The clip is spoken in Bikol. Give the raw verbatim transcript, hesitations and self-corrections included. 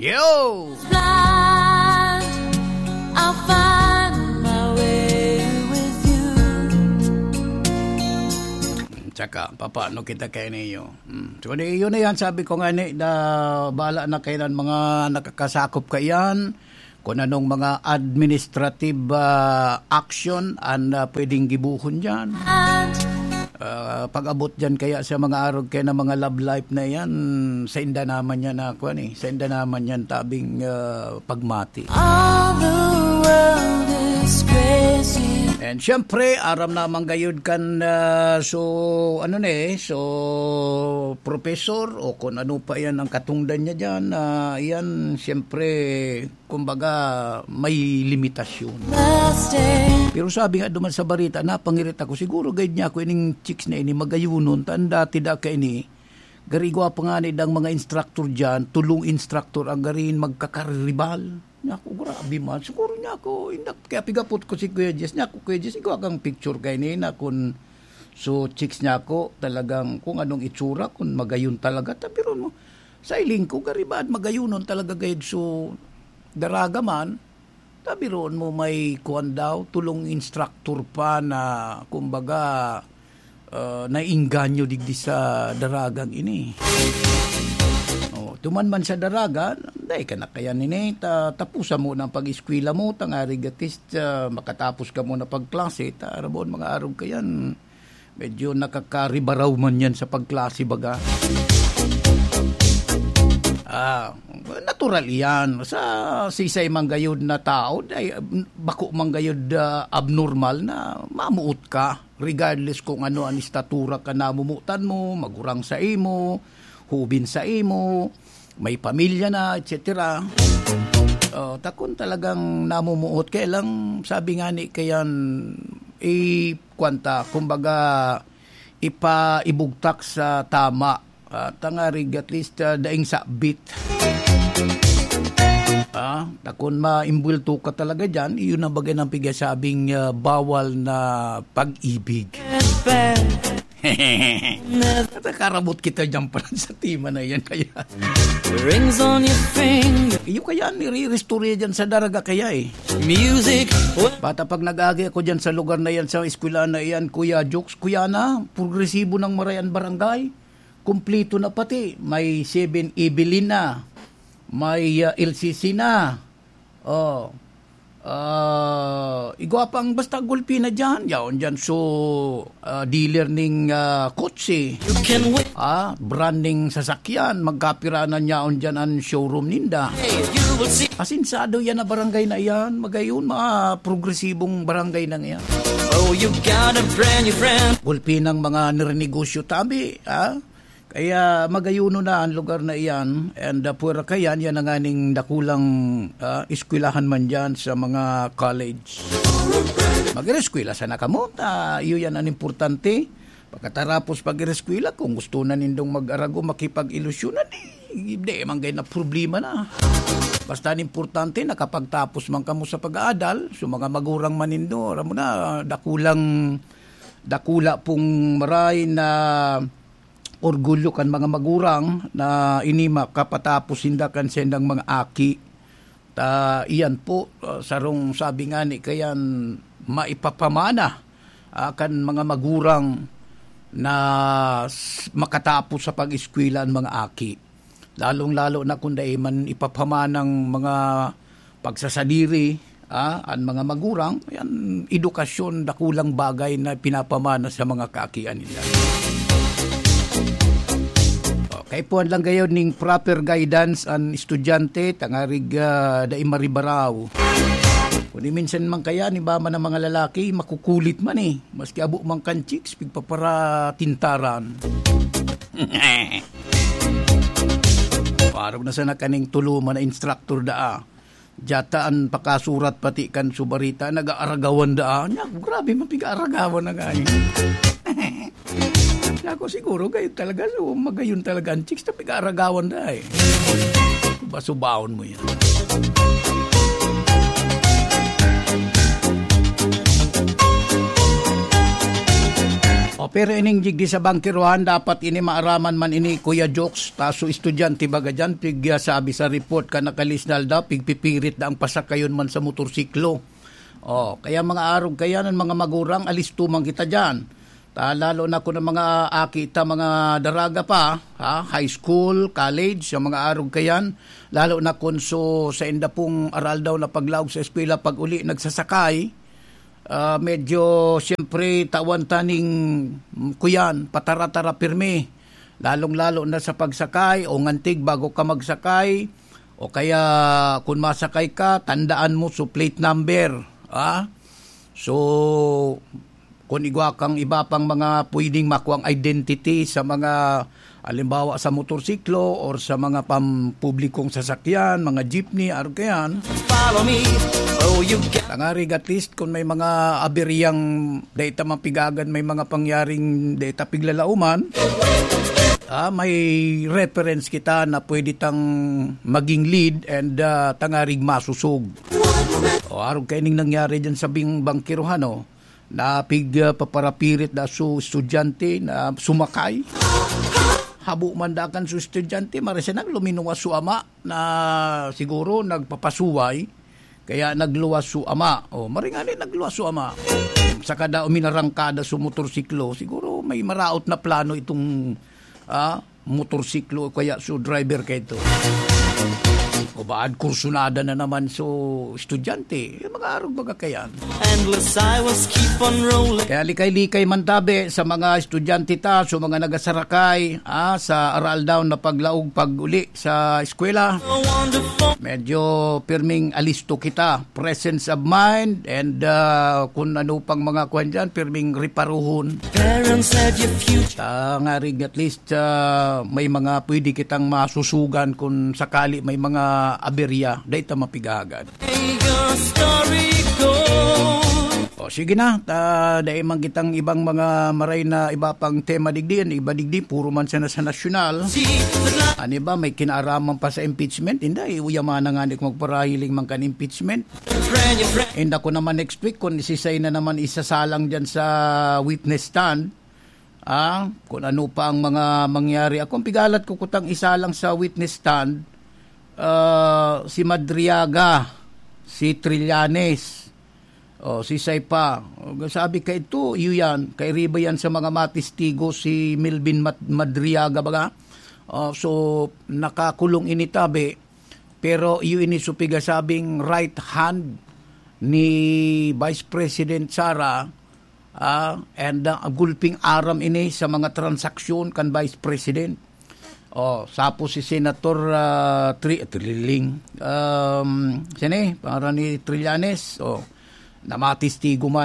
Yo! Blind, I'll find my way with you. Tsaka, papaano kita kay niyo? Hmm. So, di, yun na yan, sabi ko nga ni, da, bahala na kayo ng mga nakakasakop kaiyan, kung anong mga administrative, ah, action ang, ah, pwedeng gibuhon dyan. Ah, pag-abot dyan kaya sa mga arog kaya na mga love life na yan, sa inda naman yan na, kuwan eh, sa inda naman yan tabing, ah, pagmati. All the world is crazy. And syempre, aram naman gayud kan, ah, so, ano na eh, so, professor o kung ano pa yan ang katungdan niya dyan, ah, yan, syempre, kumbaga, may limitasyon. Pero sabi nga duman sa barita, napangirit ako, siguro guide niya ako ining chicks na ini, magayunon, ta an dati da kaini, gari igwa pa nga ni dang mga instructor dyan, tulong instructor ang garin magkakaribal. Niya ako, grabe man. Siguro niya ako, indak, kaya pigapot ko si Kuya Jess. Niya ako, Kuya Jess, igwa kang picture kaini na kun so chicks niya ako, talagang kung anong itsura, kung magayon talaga, tabiron mo. Sa iling ko, gari ba, magayunon talaga gayud so daraga man, tabiron mo may kuwan daw, tulong instructor pa na, kumbaga, ah, nainganyo digdi sa daragang ini. Oh, tuman man sa daraga, dai ka na kaya nini, ta-, tapusan mo na ang pag-eskwela mo, tangarig at least, ah, makatapos ka muna pagklase, ta, rabon mga arog kayan. Medyo nakakaribaraw man yan sa pagklase, baga. Ah, natural iyan. Sa sisay man gayud na tao, ay, bako man gayud, ah, abnormal na mamuot ka, regardless kung ano ang estatura ka namumutan mo, magurang sa imo, hubin sa imo, may pamilya na, et cetera. Oh, takon talagang namumuot. Kaya lang, sabi nga ni kayan, i-, kwan ta, kumbaga, ipa-, ibugtak sa tama. Ah, tangarig, at least, ah, daing sabit. Ah, takon maimbwelto ka talaga dyan, iyon ang bagay ng pigasabing, ah, bawal na pag-ibig. At karabot kita dyan pala sa tema na yan, kaya. Rings on your finger. Iyo kaya, nire-restore dyan sa daraga kaya eh. Music. Bata pag nag-agi ako dyan sa lugar na yan, sa eskwelahan na yan, Kuya Jokes, Kuya na, progresibo ng Marayan Barangay. Kumplito na pati. May seven Evelyn na. May, ah, L C C na. Oh. Ah, igwa pang basta gulpi na dyan. Yaon dyan so, ah, dealer ning, ah, kotse. You can win. Ah, brand ning sasakyan. Magkapiranan yaon dyan ang showroom ninda. Hey, you will see. Asinsado yan na barangay na yan. Magayon, mga progresibong barangay na yan. Oh, you got a brand new friend. Gulpi ng mga nirenegosyo tabi, ah? Kaya magayuno na ang lugar na iyan, and, ah, pwera kayan, yan ang aning dakulang, ah, eskwelahan man dyan sa mga college. Mag-eskwela sana kamo, ta iyo yan ang importante. Pagkatarapos pag-eskwela, kung gusto na nindong mag-arago, makipag-ilusyonan, di, di man gay na problema na. Basta ang importante, nakapagtapos man kamo sa pag-aadal, so mga magurang man nindo, aram mo na, dakulang, dakula pong maray na orgulyo kan mga magurang na ini makapatapos sinda kan sendang mga aki. Ta iyan po, ah, sarong sabi nga ni kayan maipapamana, ah, kan mga magurang na s-, makatapos sa pag-eskwela ang mga aki. Lalong-lalo na kung dai man ipapamana ang mga pagsasadiri, ah, an mga magurang, yan, edukasyon, dakulang bagay na pinapamana sa mga kaakian nila. Okay, puan lang gayod ning proper guidance an estudyante, tangarig, ah, dai maribaraw. Kung di minsan man kaya, ni mama ng mga lalaki, makukulit man eh. Maski abo man kan chicks, pigpaparatintaran. Parang na sana kaning tuluman na instructor daa. Diyata an pakasurat pati kan subarita, nag-aaragawan daa. Nya, grabe man, piga-aragawan na gani. Nya ako siguro, gayon talaga. So, magayon talaga ang chicks na piga-aragawan daa eh. Basubaon mo yan. Pero ining digdi sa bangkerohan, dapat ini maaraman man ini, Kuya Jokes. Taso estudyante baga dyan, pig, ah, sabi sa report ka nakalisnal daw, pigpipirit na ang pasakayon man sa motorsiklo. Oh, kaya mga arog kayan, mga magurang, alisto man kita dyan. Ta, lalo na kung ang mga aki ta, mga daraga pa, ha, high school, college, sa mga arog kayan, lalo na kung so, sa inda pong aral daw na paglaog sa eskwela, pag uli, nagsasakay, ah, medyo, siyempre, tawan ta ning, mm, kuyan, patara-tara pirmi. Lalong-lalo na sa pagsakay o ngantig bago ka magsakay, o kaya kung masakay ka, tandaan mo so plate number, ah. So, kung igwa kang iba pang mga pwedeng makuang identity sa mga, halimbawa, sa motorsiklo or sa mga pampublikong sasakyan, mga jeepney, arog kayan. Follow me, oh, you got Tangarig, at least, kung may mga aberyang data mapigagan, may mga pangyaring data piglalauman, ah, may reference kita na pwede tang maging lead and, ah, tangarig masusog. O, arog kaining nangyari dyan sa bing-, bangkerohan, oh, na pig, ah, paparapirit na su estudyante na sumakay. Habo man dakan su estudyante, marasa nang luminuwas su ama na siguro nagpapasuway, kaya nagluwas su ama. O, maringani nagluwas su ama. Saka daw minarangkada su motorsiklo, siguro may maraot na plano itong, ah, motorsiklo o kaya su driver kaito. O baad kursunada na naman su estudyante. Yung mga arog baga kayan. Endless highways keep on rolling. Kaya likay-likay man tabi sa mga estudyante ta, sa mga nagasarakay, ah, sa aral daw na paglaog pag-uli sa eskwela. So wonderful. Medyo pirming alisto kita, presence of mind, and, ah, kung ano pang mga kuwan dyan, pirming reparuhon. Parents have your future. Tangarig at least, ah, may mga pwede kitang masusugan kung sakali may mga aberya, dahil ta mapigagan. May your story go. O, sige na, ta, dai man kitang ibang mga maray na iba pang tema digdi, an iba digdi, puro man sana sa nasyonal. An iba, may kinaaraman pa sa impeachment. Inda, eh, uyamana nga ni kung magparahiling man kan impeachment. Inda ko naman next week kung isisay na naman isasalang dyan sa witness stand. Ah, kung ano pa ang mga mangyari. Ako, ang pigalat ko kutang isa lang sa witness stand, ah, si Madriaga, si Trillanes, o, si Saipa. O, sabi ka ito, iyo yan. Kairiba yan sa mga matistigo, si Melvin Mat-, Madriaga baga. O, so, nakakulong ini tabi. Pero iyo ini so pigasabing right hand ni Vice President Sara, ah, and, ah, gulping aram ini sa mga transaksyon kan Vice President. Oh, sapo si Senator, ah, Tri-, Triling. Um, sini, para ni Trillanes. Oh, namatistigo man